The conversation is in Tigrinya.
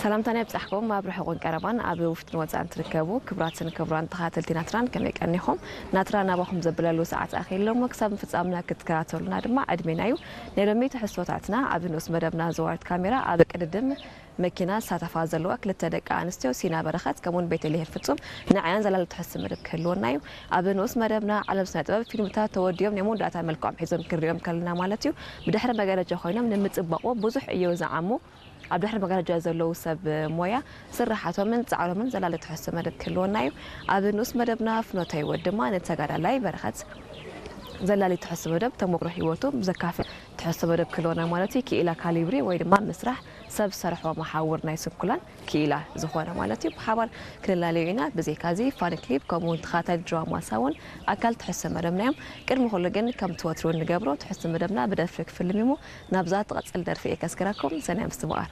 ሰላምታና ይብጻሕኩም። ኣብ ርሑቕን ቀረባን፣ ኣብ ውሽጥን ወጻእን ትርከቡ ክቡራትን ክቡራን ተኸታተልቲ ናትራን፣ ከመይ ቀኒኹም? ናትራ ናባኹም ዘብለሉ ሰዓት ኣኺሉ እሞ፣ ክሳብ ፍጻምና ክትከታተሉና ድማ ዕድሜና እዩ። ናይ ሎሚ ትሕዝቶታትና ኣብ ንኡስ መደብና ዘዋርድ ካሜራ ኣብ ቅድድም መኪና ዝሳተፋ ዘለዋ ክልተ ደቂ ኣንስትዮ፣ ሲና በረኸት ከምኡውን ቤተልሔም ፍጹም፣ ንዓያን ዘላሊ ትሕዝቶ መደብ ክህልወና እዩ። ኣብ ንኡስ መደብና ዓለም ስነ ጥበብ ፊልምታት ተወዲኦም ናይ መወዳእታ መልክዖም ሒዞም ክንሪኦም ከለና ማለት እዩ። ብድሕሪ መጋረጃ ኮይኖም ንምጽባቑ ብዙሕ ዕዮ ዝዓሙ ኣብ ድሕሪ መጋረጃ ዘለዉ ሰብ ሞያ ስራሓቶምን ጻዕሮምን ዘላሊ ትሕዝቶ መደብ ክህልወና እዩ። ኣብ ንኡስ መደብና ፍኖተ ህይወት ድማ ንተጋዳላይ በረኸት ዘላሊ ትሕዝቶ መደብ ተሞክሮ ህይወቱ ዘካፍል ትሕዝቶ መደብ ክህልወና ማለት እዩ። ክኢላ ካሊብሪ ወይ ድማ ምስራሕ ሰብ ሰርሖ መሓውር ናይ ስንኩላን ክኢላ ዝኾነ ማለት እዩ። ብሓባር ክንላለዩ ኢና። ብዘይካዚ ፋን ክሊፕ ከምኡ እውን ተኻታሊ ድራማ ሳውን ኣካል ትሕዝቶ መደብና እዮም። ቅድሚ ኩሉ ግን ከምቲ ወትሩ እንገብሮ ትሕዝቶ መደብና ብደርፊ ክፍልም እዩ። ናብዛ ትቐጽል ደርፊ እየ ከስክረኩም። ሰናይ ምስትምቓር።